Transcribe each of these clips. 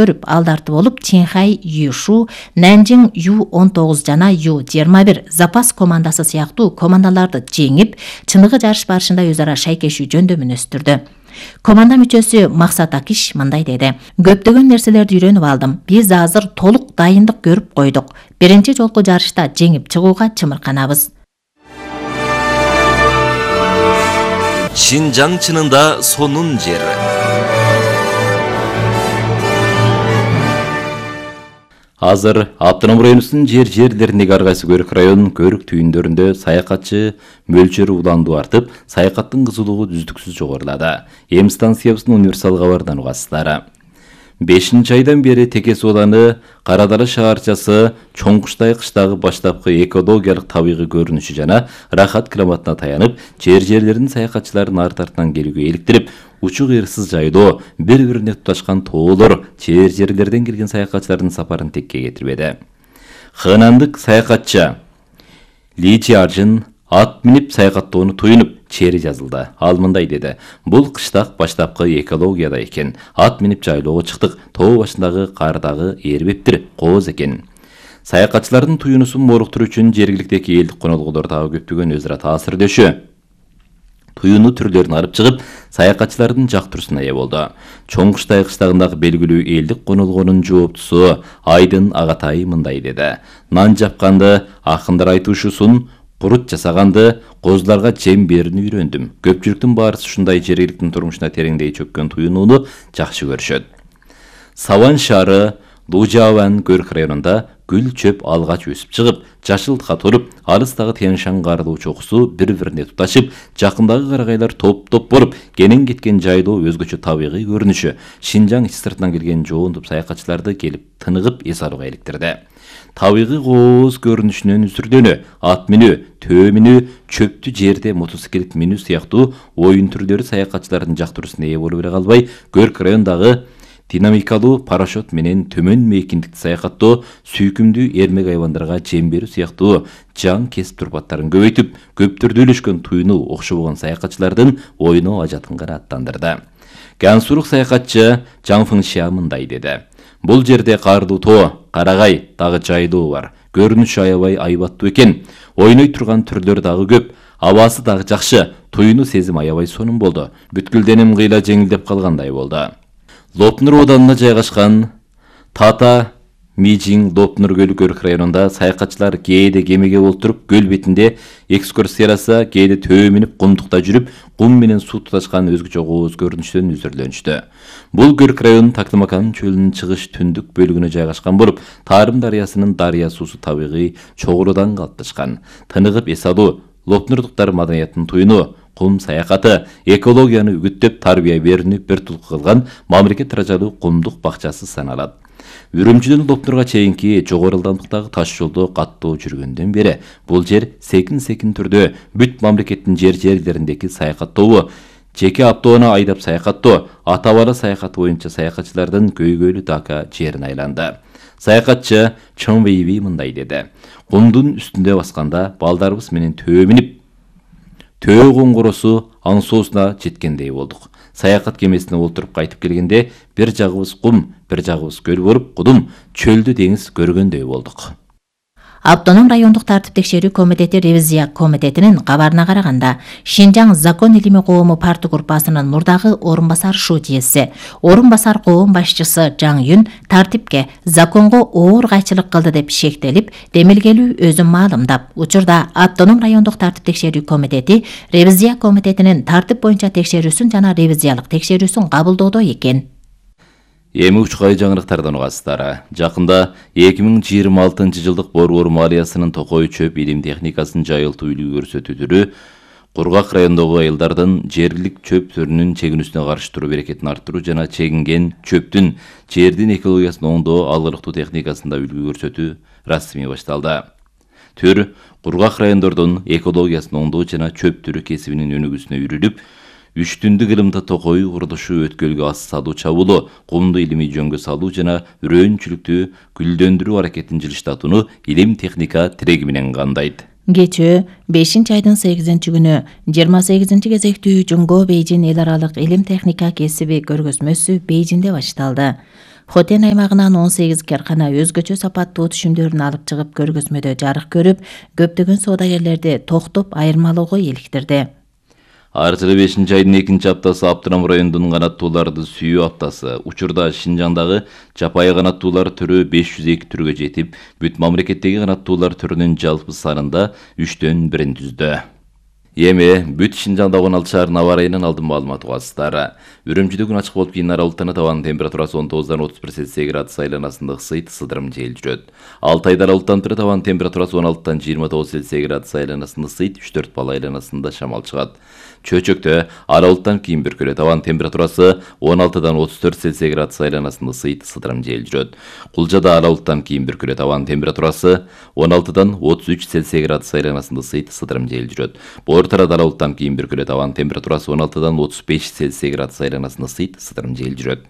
өткөрүп, алдарты болуп Чинхай Юшу, Нанжин Ю-19 жана Ю-21 запас командасы сыяктуу командаларды жеңип, чыныгы жарыш барышында өз ара шайкешүү жөндөмүн өстүрдү. Команда мүчөсү Максат Акиш мындай деди: "Көптөгөн нерселерди үйрөнүп алдым. Биз азыр толук дайындык көрүп койдук. Биринчи жолку жарышта жеңип чыгууга чымырканабыз." Шинжаң чынында сонун жер. Азыр автоном районубуздун жерлериндеги ар кайсы көрүк район, көрүк түйүндөрүндө саякатчы мөлчөрү уланду артып, саякаттын кызуулугу үздүксүз жогорулады. Эми станциябыздын универсал кабарынан угасыздар. 5 айдан бери Текес ооданы Кара Дала шаарчасы Чоңкуштай кыштагы баштапкы экологиялык табигый көрүнүшү жана рахат климатына таянып, жерлердин саякатчыларын арт-артынан келүүгө иликтирип, учук ырсыз жайдоо, бири-бирине туташкан тоолор жерлерден келген саякатчылардын сапарын текке кетирбеди. Хынандык саякатчы Ли Чиаржин ат минип саякаттоону туюнуп, чери жазылды. Ал мындай деди: "Бул кыштак баштапкы экологияда экен. Ат минип жайлоого чыктык. Тоо башындагы кардагы эрбептир, кооз экен." Саякатчылардын туюнусун моруктуруу үчүн жергиликтеги элдик конолгулор дагы көптөгөн өз ара таасирдешүү туюну түрлөрүн алып чыгып, саякатчылардын жактыруусуна ээ болду. Чоңкуштай кыштагындагы белгилүү элдик конолгонун жооптусу Айдын Агатай мындай деди: "Нан жапканды акындар айтышуусун, курут жасаганды, козуларга жем берүүнү үйрөндүм. Көпчүлүктүн баарысы ушундай жергиликтин турмушуна тереңдей чөккөн туюнууну жакшы көрүшөт." Саван шаары Лужаван көрүк районунда гүл чөп алгач өсүп чыгып, жашылтка туруп, алыстагы Тянь-Шань кардуу чокусу бири-бирине туташып, жакындагы карагайлар топ-топ болуп, кенен кеткен жайдоо өзгөчө табигый көрүнүшү Шинжаң ич сыртынан келген жоон топ саякатчыларды келип тыныгып эс алууга иликтирди. Табигый кооз көрүнүшүнөн үзүрдөнү, ат минүү, төө минүү, чөптү жерде мотоциклет минүү сыяктуу оюн түрлөрү саякатчылардын жактыруусуна ээ болуп эле калбай, көрк райондагы динамикалуу парашют менен төмөн мейкиндикти саякаттоо, сүйкүмдүү эрмек айвандарга жем берүү сыяктуу жан кесип турпаттарын көбөйтүп, көптөрдө үйлөшкөн туюну окшобогон саякатчылардын ойно ажатын канааттандырды. Гансурук саякатчы Жаң Фыңшия мындай деди: "Бул жерде кардуу тоо, карагай, дагы жайдоо бар. Көрүнүшү аябай айбаттуу экен. Ойной турган түрлөр дагы көп. Абасы дагы жакшы. Туюну сезим аябай сонун болду. Бүткүлденим кыйла жеңилдеп калгандай болду." Лопнур оданына жайгашкан Тата Мижиң Лопнур көлү көрүк районунда саякатчылар кээде кемеге олтуруп, көл бетинде экскурсияласа, кээде төө минип кумдукта жүрүп, кум менен суу туташкан өзгөчө кооз көрүнүштөн үзүрдөнүштү. Бул көрүк район Тактамакан чөлүнүн чыгыш түндүк бөлүгүнө жайгашкан болуп, Тарым дарыясынын дарыя суусу табигый чогулуудан калыпташкан. Тыныгып эс алуу, Лопнурдуктар маданиятынын туюну, кум саякаты, экологияны үгүттөп тарбия берүүнү бир тулку кылган мамлекет даражалуу кумдук бакчасы саналат. Үрүмчүдөн Лопнурга чейинки жогору ылдамдыктагы таш жолдо каттоо жүргөндөн бери бул жер секин түрдө бүт мамлекеттин жерлериндеги саякаттоо, жеке автоуна айдап саякаттоо, ата-бала саякаты боюнча саякатчылардын көйгөйлүү Дака жерине айланды. Саякатчы Чон Вейви мындай деди: "Кумдун үстүндө басканда балдарыбыз менен төө минип, төө коңгуросу аң соосуна жеткендей болдук. Саякат кемесине олтуруп кайтып келгенде бир жагыбыз кум, бир жагыбыз көл болуп, кудум, чөлдү деңиз көргөндөй болдук." Автоном райондук тартип текшерүү комитети ревизия комитетинин кабарына караганда, Шинжаң закон илими коому парты группасынын мурдагы орун басар шутиеси, орун басар коом башчысы Жаң Юн тартипке, законго оор кайчылык кылды деп шектелип, демилгелүү өзүн маалымдап, учурда автоном райондук тартип текшерүү комитети ревизия комитетинин тартип боюнча текшерүүсүн жана ревизиялык текшерүүсүн кабылдоодо экен. Эми учкай жаңырыктардан угасыздар. Жакында 2026 жылдык борбор малиясынын токой чөп илим техникасын жайылтуу үлгү көрсөтүү түрү Кургак райондогу айылдардын жергилик чөп түрүнүн чегинүүсүнө каршы туруу берекетин арттыруу жана чегинген чөптүн жердин экологиясын оңдоо алгылыктуу техникасында үлгү көрсөтүү расмий башталды. Төр Кургак райондордун экологиясын оңдоо жана чөп түрү кесибинин өнүгүүсүнө үрүлүп, 3 түндүк ылымда токой курулушу өткөлгө ас салуу чабуулоо, кумду илимий жөнгө салуу жана үрөөнчүлүктү гүлдөндүрүү аракетин жылыштатууну илим техника тиреги менен кандайт. Кечээ 5-айдын 8-күнү 28-кезектүү Жунго Бейжин эл аралык илим техника кесиби көргөзмөсү Бейжинде башталды. Хотен аймагынан 18 каркана өзгөчө сапаттуу түшүмдөрүн алып чыгып көргөзмөдө жарык көрүп, көптөгөн соодагерлерди токтоп айырмалоого иликтирди. Ар жылы 5-айдын 2-аптасы Аптырам районунун канаттууларды сүйүү аптасы. Учурда Шинжаңдагы жапайы канаттуулар түрү 502 түргө жетип, бүт мамлекеттеги канаттуулар түрүнүн жалпы санында 3-төн 1 түздү. Эми бүт Шинжаңда 16 шаарынын аба ырайынан алдын маалымат угасыздар. Үрүмчүдө күн ачык болуп кийин аралыктан табан температурасы 19-дан 31 Цельсий градус айланасында ысыйт, сыдырым жел жүрөт. Алтайда аралыктан табан температурасы 16-дан 29 Цельсий градус айланасында ысыйт, 3-4 балл айланасында шамал чыгат. Чөчөктө аралыктан кийин бүркөлө табан температурасы 16-дан 34 Цельсий градус айланасында ысыйт, сыдырым жел жүрөт. Кулжада аралыктан кийин бүркөлө табан температурасы 16-дан 33 Цельсий градус айланасында ысыйт, сыдырым жел жүрөт. Ортарада аралыктан кийин бүркөлө табан температурасы 16-дан 35 Цельсий градус айланасында ысыйт, сыдырым жел жүрөт.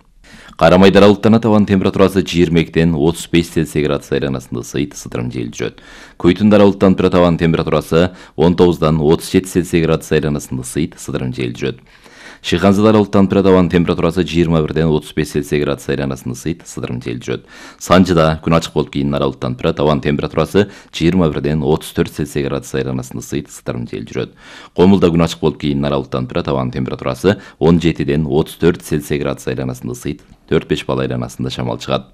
Карамайда аралыктан табан температурасы 22-ден 35 Цельсий градус айланасында ысыйт, сыдырым жел жүрөт. Куйтунда аралыктан табан температурасы 19-дан 37 Цельсий градус айланасында ысыйт, сыдырым жел жүрөт. Шыханзада аралыктан табан температурасы 21-ден 35 Цельсий градус айланасында ысыйт, сыдырым жел жүрөт. Санжыда күн ачык болуп кийин аралыктан табан температурасы 21-ден 34 Цельсий градус айланасында ысыйт, сыдырым жел жүрөт. Комулда күн ачык болуп кийин аралыктан табан температурасы 17-ден 34 Цельсий градус айланасында ысыйт, 4-5 балл айланасында шамал чыгат.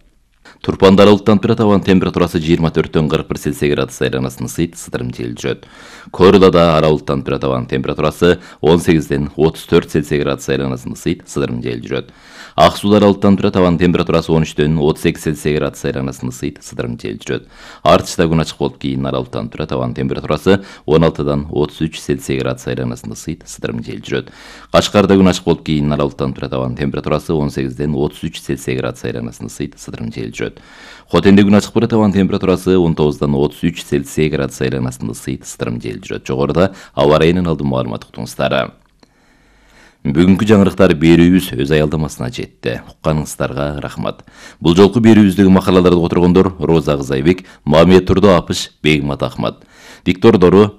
Турпанда аралыктан табан температурасы 24-төн 41 Цельсий градус айланасында ысыйт, сыдырым жел жүрөт. Корулада аралыктан табан температурасы 18-ден 34 Цельсий градус айланасында ысыйт, сыдырым жел жүрөт. Ак Сууда аралыктан табан температурасы 13-дөн 38 Цельсий градус айланасында ысыйт, сыдырым жел жүрөт. Артышта күн ачык болуп кийин аралыктан табан температурасы 16-дан 33 Цельсий градус айланасында ысыйт, сыдырым жел жүрөт. Кашкарда күн ачык болуп кийин аралыктан табан температурасы 18-ден 33 Цельсий градус айланасында ысыйт, сыдырым жел жүрөт. Хотенде күн ачык табан температурасы 19-дан 33 Цельсий градус айланасында ысыйт, сыдырым жел жүрөт. Жогоруда аба ырайынан алдын маалымат уктуңуздар. Бүгүнкү жаңырыктар берүүбүз өз аялдамасына жетти. Укканыңыздарга рахмат. Бул жолку берүүбүздөгү макалаларды которгондор Роза Кызайбек, Мамет Турдо Апыш, Бегмат Ахмат. Диктордору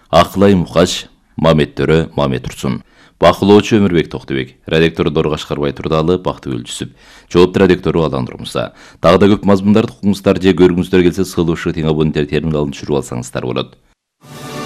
Акылай Мукаш, Мамет Төрө, Мамет Турсун. Бакылоочу Өмүрбек Токтубек, редактордору Кашкарбай Турдалы, Бактыгүл Жүсүп, жоопту редактору Алан Турмуса. Дагы да көп мазмундарды укуңуздар же көргүңүздөр келсе, сылуу шы тиң абоненттер терминалын түшүрүп алсаңыздар болот.